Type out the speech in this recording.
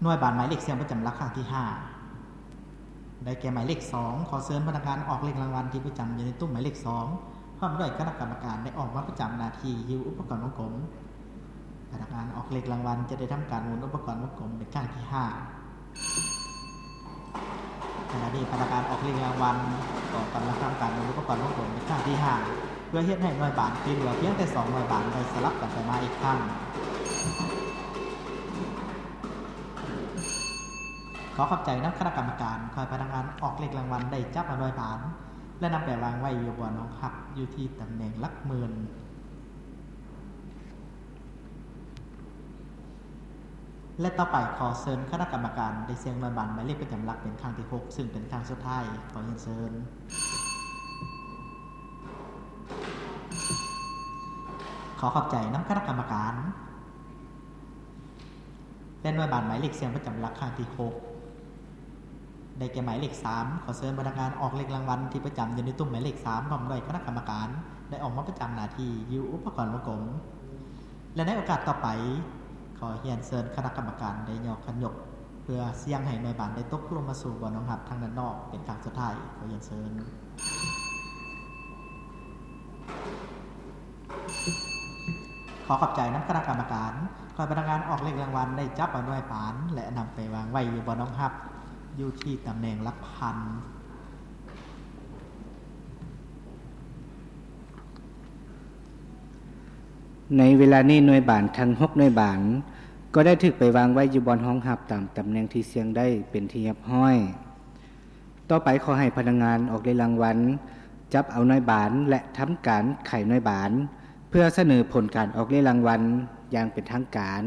ໜ່ວຍບານໝາຍເລກສ່ຽງປະຈຳຫຼັກຄັ້ງທີຫ້າ ໄດ້ແກ່ໝາຍເລກສອງ. ຂໍເຊີນພະນັກງານອອກເລກລາງວັນທີ່ປະຈຳຢູ່ໃນຕຸ້ມໝາຍເລກສອງ ພ້ອມດ້ວຍຄະນະກຳມະການໄດ້ອອກມາປະຈຳໜ້າທີ່ຢູ່ອຸປະກອນວົງກົມ. ພະນັກງານອອກເລກລາງວັນຈະໄດ້ທຳການໝູນອຸປະກອນວົງກົມເປັນຄັ້ງທີຫ້າ. ຂະນະນີ້ພະນັກງານອອກເລກລາງວັນກໍກຳລັງທຳການໝູນອຸປະກອນວົງກົມເປັນຄັ້ງທີຫ້າ ເພື່ອເຮັດໃຫ້ໜ່ວຍບານທີ່ເຫຼືອພຽງແຕ່ສອງໜ່ວຍບານໄດ້ສະຫຼັບກັນໄປມາອີກຄັ້ງ. ຂໍຂອບໃຈນຳຄະນະກຳມະການ. ຂໍໃຫ້ພະນັກງານອອກເລກລາງວັນໄດ້ຈັບເອົາໜ່ວຍບານ ແລະ ນຳໄປວາງໄວ້ຢູ່ບ່ອນຮອງຮັບ ຢູ່ທີ່ຕຳແໜ່ງຫຼັກໝື່ນ. ແລະ ຕໍ່ໄປຂໍເຊີນຄະນະກຳມະການໄດ້ສ່ຽງໜ່ວຍບານໝາຍເລກປະຈຳຫຼັກເປັນຄັ້ງທີຫົກ ຊຶ່ງເປັນຄັ້ງສຸດທ້າຍ. ຂໍຮຽນເຊີນ. ຂໍຂອບໃຈນຳຄະນະກຳມະການ. ແລະ ໜ່ວຍບານໝາຍເລກສ່ຽງປະຈຳຫຼັກຄັ້ງທີຫົກ ໄດ້ແກ່ໝາຍເລກສາມ. ຂໍເຊີນພະນັກງານອອກເລກລາງວັນທີ່ປະຈຳຢູ່ໃນຕຸ້ມໝາຍເລກສາມ ພ້ອມດ້ວຍຄະນະກຳມະການ ໄດ້ອອກມາປະຈຳໜ້າທີ່ຢູ່ອຸປະກອນວົງກົມ ແລະ ໃນໂອກາດຕໍ່ໄປ ຂໍຮຽນເຊີນຄະນະກຳມະການໄດ້ຍໍຂັນຍົກ ເພື່ອສ່ຽງໃຫ້ໜ່ວຍບານໄດ້ຕົກລົງມາສູ່ບ່ອນຮອງຮັບທາງດ້ານນອກເປັນຄັ້ງສຸດທ້າຍ. ຂໍຮຽນເຊີນ. ຂໍຂອບໃຈນຳຄະນະກຳມະການ. ຂໍໃຫ້ພະນັກງານອອກເລກລາງວັນໄດ້ຈັບເອົາໜ່ວຍບານ ແລະ ນຳໄປວາງໄວ້ຢູ່ບ່ອນຮອງຮັບ ຢູ່ທີ່ຕຳແໜ່ງຫຼັກພັນ. ໃນເວລານີ້ໜ່ວຍບານທັງຫົກໜ່ວຍບານ ກໍໄດ້ຖືກໄປວາງໄວ້ຢູ່ບ່ອນຮອງຮັບຕາມຕຳແໜ່ງທີ່ສ່ຽງໄດ້ເປັນທີ່ຮຽບຮ້ອຍ. ຕໍ່ໄປຂໍໃຫ້ພະນັກງານອອກເລກລາງວັນ ຈັບເອົາໜ່ວຍບານ ແລະ ທຳການໄຂໜ່ວຍບານ ເພື່ອສະເໜີຜົນການອອກເລກລາງວັນຢ່າງເປັນທາງການ.